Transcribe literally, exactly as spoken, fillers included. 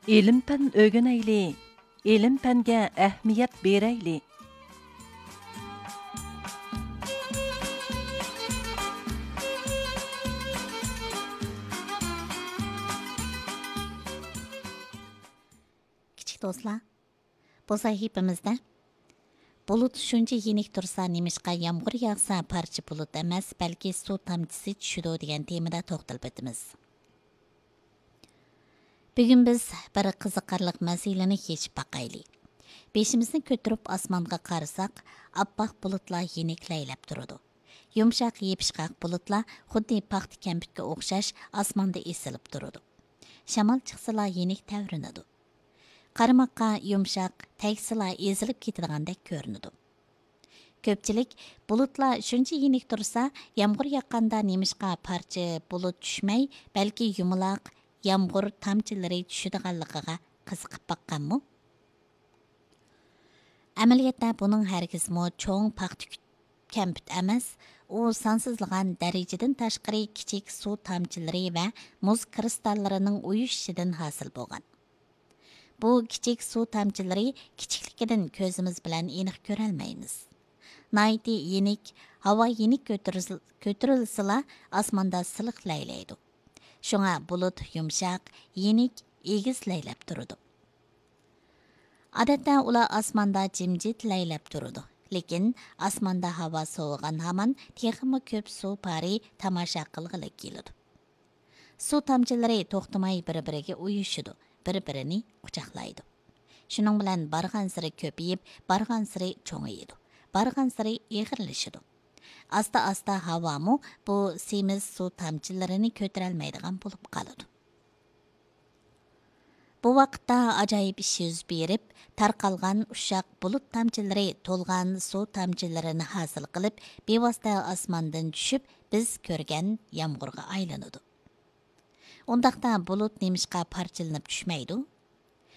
ئىلىم-پەن ئۆگىنەيلى، ئىلىم-پەنگە ئەھمىيەت بېرەيلى. كىچىك دوستلار، بۇ سەھىپىمىزدە بۇلۇت شۇنچە يېنىك تۇرسا، نېمىشقا يامغۇر ياغسا پارچە بۇلۇت ئەمەس، بەلكى سۇ تامچىسى چۈشىدۇ دېگەن تېمىدا توختىلىپ ئۆتىمىز. بۈگۈن بىز بىر قىزىقارلىق مەسىلىنى يېشىپ باقايلى. بېشىمىزنى كۆتۈرۈپ ئاسمانغا قارىساق، ئاپئاق بۇلۇتلار يېنىك لەيلەپ تۇرىدۇ. يۇمشاق، يېپىشقاق بۇلۇتلار خۇددى پاختا كەمپۈتكە ئوخشاش ئاسماندا ئېسىلىپ تۇرىدۇ. شامال چىقسىلا يېنىك تەۋرىنىدۇ. قارىماققا يۇمشاق، تەگسىلا ئېزىلىپ كېتىدىغاندەك كۆرۈنىدۇ. كۆپچىلىك بۇلۇتلار شۇنچە يېنىك تۇرسا، يامغۇر ياغقاندا نېمىشقا پارچە بۇلۇت چۈشمەي، بەلكى يۇمىلاق يامغۇر تامچىلىرى چۈشىدىغانلىقىغا قىزىقىپ باققانمۇ؟ ئەمەلىيەتتە بۇنىڭ ھەرگىزمۇ چوڭ پاختا كۈ-، كەمپۈت ئەمەس، ئۇ سانسىزلىغان دەرىجىدىن تاشقىرى كىچىك سۇ تامچىلىرى ۋە مۇز كىرىستاللىرىنىڭ ئۇيۇشۇشىدىن ھاسىل بولغان. بۇ كىچىك سۇ تامچىلىرى كىچىكلىكىدىن كۆزىمىز بىلەن ئېنىق كۆرەلمەيمىز. ناھايىتى يېنىك، ھاۋا يېنىك كۆتۈرۈل-، كۆتۈرۈلسىلا ئاسماندا سىلىق لەيلەيدۇ. شۇڭا بۇلۇت يۇمشاق، يېنىك، ئېگىز لەيلەپ تۇرىدۇ. ئادەتتە ئۇلار ئاسماندا جىمجىت لەيلەپ تۇرىدۇ. لېكىن ئاسماندا ھاۋا سوۋۇغان ھامان تېخىمۇ كۆپ سۇ پارى تاماشا قىلغىلى كېلىدۇ. سۇ تامچىلىرى توختىماي بىر-بىرىگە ئۇيۇشىدۇ، بىر-بىرىنى قۇچاقلايدۇ. شۇنىڭ بىلەن بارغانسېرى كۆپىيىپ، بارغانسېرى چوڭىيىدۇ، بارغانسېرى ئېغىرلىشىدۇ. ئاستا-ئاستا ھاۋامۇ بۇ سېمىز سۇ تامچىلىرىنى كۆتۈرەلمەيدىغان بولۇپ قالىدۇ. بۇ ۋاقىتتا ئاجايىپ ئىش يۈز بېرىپ، تارقالغان ئۇششاق بۇلۇت تامچىلىرى تولغان سۇ تامچىلىرىنى ھاسىل قىلىپ، بىۋاسىتە ئاسماندىن چۈشۈپ، بىز كۆرگەن يامغۇرغا ئايلىنىدۇ. ئۇنداقتا بۇلۇت نېمىشقا پارچىلىنىپ چۈشمەيدۇ؟